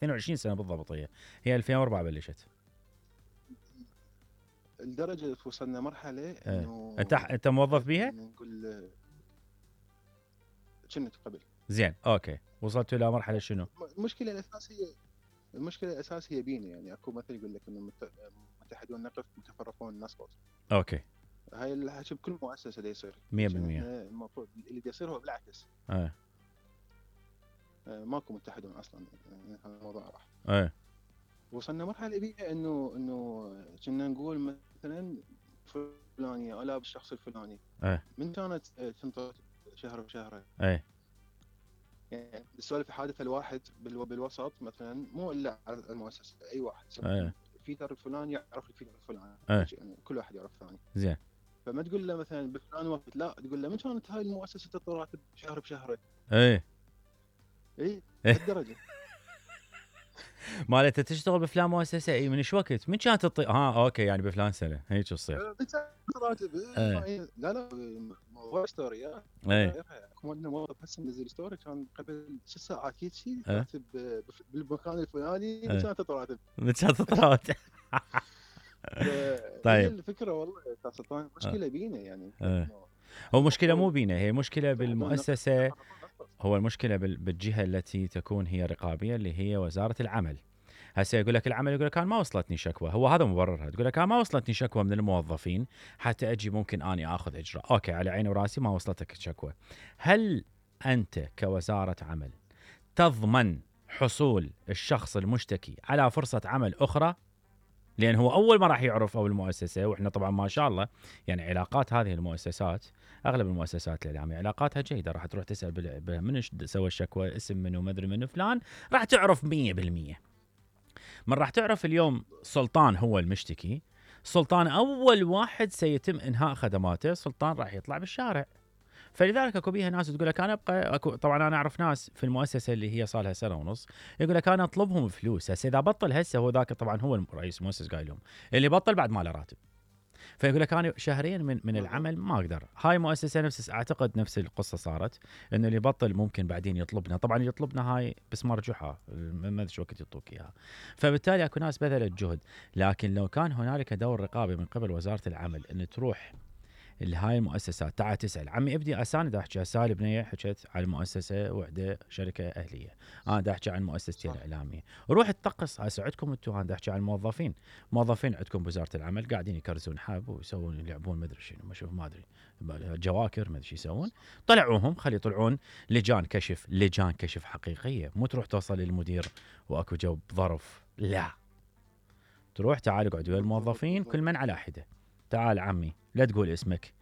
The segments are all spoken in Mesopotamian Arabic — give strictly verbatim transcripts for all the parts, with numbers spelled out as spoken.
اثنين وعشرين سنه بالضبط. هي هي ألفين وأربعة بلشت. لدرجه وصلنا مرحله انه انت انت موظف بيها؟ نقول كنت قبل. زين اوكي، وصلت الى مرحله شنو؟ المشكله الاساسيه المشكله الاساسيه بينا، يعني اكو مثل يقول لك انه متحدون نقف متفرقون نسقط. اوكي، هاي الحكي بكل مؤسسه دا يصير مية بالمية. المفروض اللي دا يصير هو بالعكس. ايه ماكو متحدون اصلا، هذا الموضوع راح. ايه وصلنا مرحله بيها انه انه كنا نقول مثلا فلانيه الا بالشخص الفلاني ايه من كانت تنطر شهر بشهر. ايه يعني السؤال حادثه الواحد بالوسط مثلا مو الا على المؤسسه، اي واحد ايه الفيتر الفلاني يعرف الفيتر الفلاني. ايه يعني كل واحد يعرف ثاني. زين. فما تقول له مثلا بفلان وقت، لا تقول له من كانت هاي المؤسسه تطلع راتب شهر بشهر. ايه اي لهالدرجه. مالته تشتغل بفلان مؤسسه، اي من ايش وقت؟ من كانت تطي... ها اوكي يعني بفلان سنه هيك تصير. راتب ايه. لا لا موضوع ستوريات. ايه كنا موظف هسه منزل ستوري كان قبل ست ساعات هيك شيء ايه. راتب بالمكان الفلاني ايه. من كانت تطلع راتب. من كانت تطلع راتب. طيب الفكره والله سلطان مشكله بينا يعني. ايه. هو مشكله مو بينا، هي مشكله بالمؤسسه. هو المشكله بالجهه التي تكون هي رقابيه اللي هي وزاره العمل. هسه يقول لك العمل، يقول لك انا ما وصلتني شكوى، هو هذا مبررها. تقول لك انا ما وصلتني شكوى من الموظفين حتى اجي ممكن اني اخذ اجراء. اوكي على عيني وراسي، ما وصلتك شكوى. هل انت كوزاره عمل تضمن حصول الشخص المشتكي على فرصه عمل اخرى؟ لان هو اول ما راح يعرف او المؤسسه، واحنا طبعا ما شاء الله يعني علاقات هذه المؤسسات، اغلب المؤسسات الاعلاميه علاقاتها جيده، راح تروح تسال من سوى الشكوى، اسم منه، ما ادري منه فلان، راح تعرف مية بالمية. من راح تعرف اليوم سلطان هو المشتكي، سلطان اول واحد سيتم انهاء خدماته، سلطان راح يطلع بالشارع. فلذلك اكو بيها ناس تقول لك انا ابقى أكو. طبعا انا اعرف ناس في المؤسسه اللي هي صار لها سنه ونص يقول لك انا اطلبهم فلوس. هسه اذا بطل هسه هو ذاك طبعا هو رئيس المؤسسه قايل لهم اللي بطل بعد ما له راتب، فيقول لك انا شهرين من من العمل ما اقدر. هاي مؤسسه نفس اعتقد نفس القصه صارت، انه اللي بطل ممكن بعدين يطلبنا، طبعا يطلبنا هاي بس مرجوحه ما ادري وقت يعطوك اياها. فبالتالي اكو ناس بذلت جهد، لكن لو كان هنالك دور رقابي من قبل وزاره العمل ان تروح هاي المؤسسات تعال تسال عمي ابدي اساند احكي. هسه البنيه حكيت على مؤسسه وحده شركه اهليه، انا دا احكي عن مؤسستي الاعلاميه، روح تطقس. هسه عندكم انتم، انا دا احكي عن الموظفين، موظفين عندكم بوزاره العمل قاعدين يكرزون حب ويسوون يلعبون ما ادري شنو، ما اشوف ما ادري جواكر ما ادري شو يسوون. طلعوهم خلي يطلعون لجان كشف، لجان كشف حقيقيه، مو تروح توصل للمدير واكو جو ظرف، لا تروح تعال اقعد ويا الموظفين كل من على حده. تعال عمي لا تقول اسمك،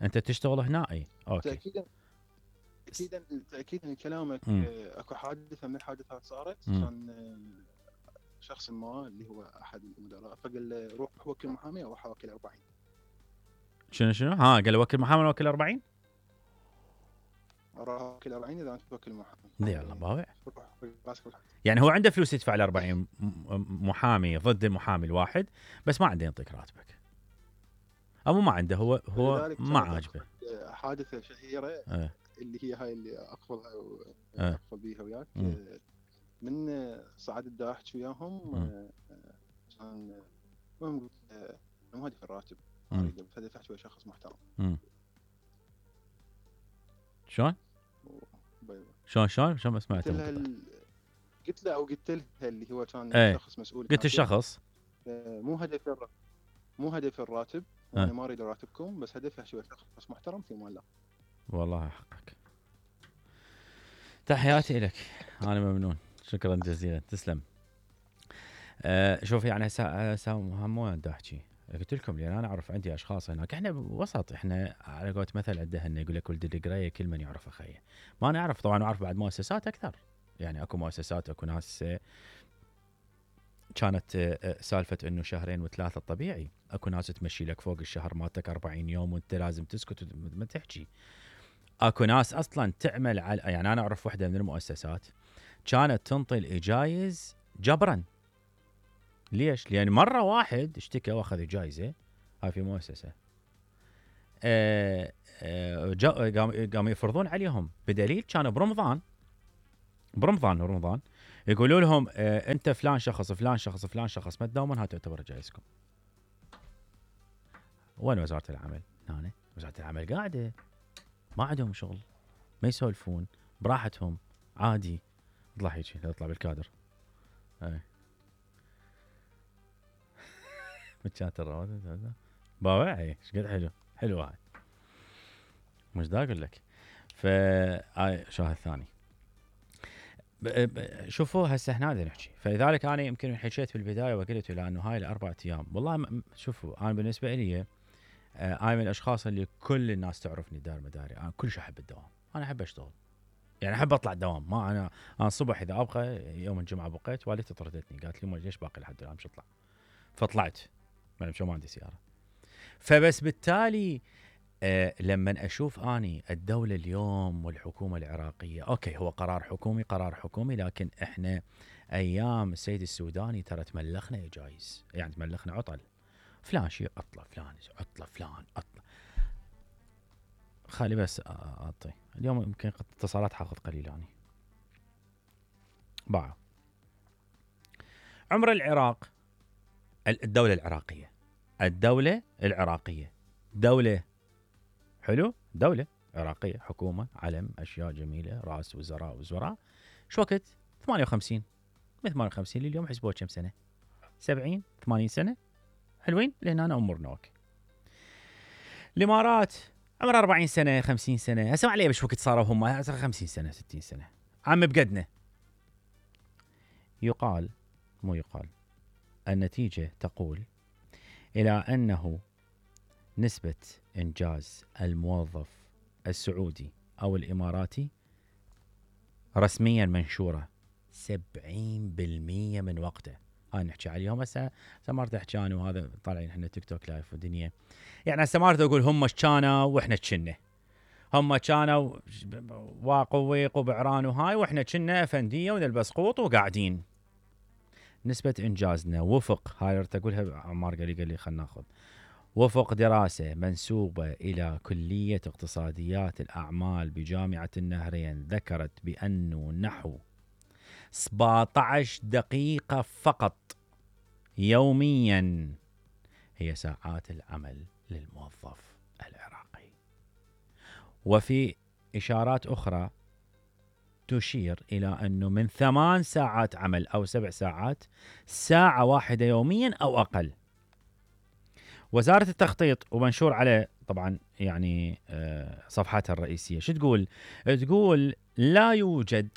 انت تشتغل هنا. اي اوكي تاكيدا تاكيدا تاكيدا كلامك. اكو حادثه من الحادثات صارت، كان شخص ما اللي هو احد المدراء فقال له روح وكل محامي او روح وكل أربعين. شنو شنو ها قال له وكل محامي وكل أربعين؟ راح وكل أربعين اذا انت توكل محامي. يلا باوع. يعني هو عنده فلوس يدفع ل أربعين محامي ضد المحامي الواحد، بس ما عنده يعطيك راتبك. أو ما عنده، هو هو ما عاجبه. حادثة شهيرة اه. اللي هي هاي اللي أقفلها وأقفل بيها وياك. من صعد الدا أحكي وياهم كان المهم ما أدري الراتب أريد فدفعت ويا شخص محترم. شلون؟ شلون شلون شلون ما سمعت؟ قلت له أو قلت له اللي هو كان ايه. شخص مسؤول. قلت الشخص مو هدف الر... مو هدف الراتب، وانا ما اريد راتبكم، بس هدفي شوي شخص محترم في مال الله. والله حقك. تحياتي لك، انا ممنون، شكرا جزيلا، تسلم. أه شوف يعني هسه مو بدي احكي، قلت لكم لان انا اعرف عندي اشخاص هناك، احنا وسط، احنا على قولة مثل عندنا يقول لك ولد القرايه كل من يعرف اخيه. ما نعرف طبعا، اعرف بعد مؤسسات اكثر، يعني اكو مؤسسات اكو ناس كانت سالفه انه شهرين وثلاثه طبيعي، اكو ناس تمشي لك فوق الشهر مالتك أربعين يوم وانت لازم تسكت وما تحكي. اكو ناس اصلا تعمل على، يعني انا اعرف وحده من المؤسسات كانت تنطي الاجايز جبرا. ليش؟ لان مره واحد اشتكى واخذ جائزه، هاي في مؤسسه قاموا يفرضون عليهم بدليل كان برمضان برمضان ورمضان يقولوا لهم آه انت فلان شخص فلان شخص فلان شخص ما تداومون، هاي تعتبر جايزكم. وين وزاره العمل؟ هنا وزاره العمل قاعده ما عندهم شغل، ما يسولفون براحتهم عادي. اطلع هيك اطلع بالكادر. اي متشات الرواتب باوع. اي ايش قد حلو حلو هاي، مش دا اقول لك. ف هاي شاهد ثاني. شوفوا هسه احنا نحكي، فلذلك انا يمكن حكيت في البدايه وقلت لانه هاي الاربع ايام والله شوفوا انا بالنسبه لي انا من الاشخاص اللي كل الناس تعرفني دار مداري، انا كلش احب الدوام، انا احب اشتغل يعني احب اطلع الدوام. ما انا انا الصبح اذا ابغى يوم الجمعه بقيت والدتي طردتني قالت لي ليش باقي لحد الان مش اطلع، فطلعت ما ما عندي سياره. فبس بالتالي أه لما اشوف اني الدوله اليوم والحكومه العراقيه، اوكي هو قرار حكومي قرار حكومي، لكن احنا ايام السيد السوداني ترى تملخنا جايز، يعني تملخنا عطل، فلان شيء عطله فلان عطله فلان عطله. خلي بس اعطي اليوم يمكن اتصالات حاخذ قليل يعني. باع عمر العراق، الدوله العراقيه الدوله العراقيه دوله حلو، دولة عراقية، حكومة، علم، أشياء جميلة، رأس وزراء وزراء. شو وقت؟ ثمانية وخمسين من ثمانية وخمسين لليوم حسبوه كم سنة؟ سبعين ثمانين سنة، حلوين لأن أنا أمورنا أوكي. الإمارات عمر أربعين سنة خمسين سنة، هسه ما عليه بش وقت صاروا هم خمسين سنة ستين سنة، عم بقدنا. يقال مو يقال النتيجة تقول إلى أنه نسبة إنجاز الموظف السعودي أو الإماراتي رسميا منشورة سبعين بالمية من وقته. هاي نحكي عليهم هسه سمارت احكي انا وهذا طالعين احنا تيك توك لايف ودنيا، يعني سمارت اقول هم كانوا واحنا كنا، هم كانوا واقوا ويقوا بعران وهاي واحنا كنا افنديه ونلبس قوط وقاعدين. نسبة انجازنا وفق هاي تقولها عمار قال لي قال لي خلينا ناخذ وفق دراسة منسوبة إلى كلية اقتصاديات الأعمال بجامعة النهرين ذكرت بأنه نحو سبعة عشر دقيقة فقط يوميا هي ساعات العمل للموظف العراقي. وفي إشارات أخرى تشير إلى أنه من ثمان ساعات عمل أو سبع ساعات ساعة واحدة يوميا أو أقل. وزارة التخطيط ومنشور على طبعا يعني صفحتها الرئيسية شو تقول؟ تقول لا يوجد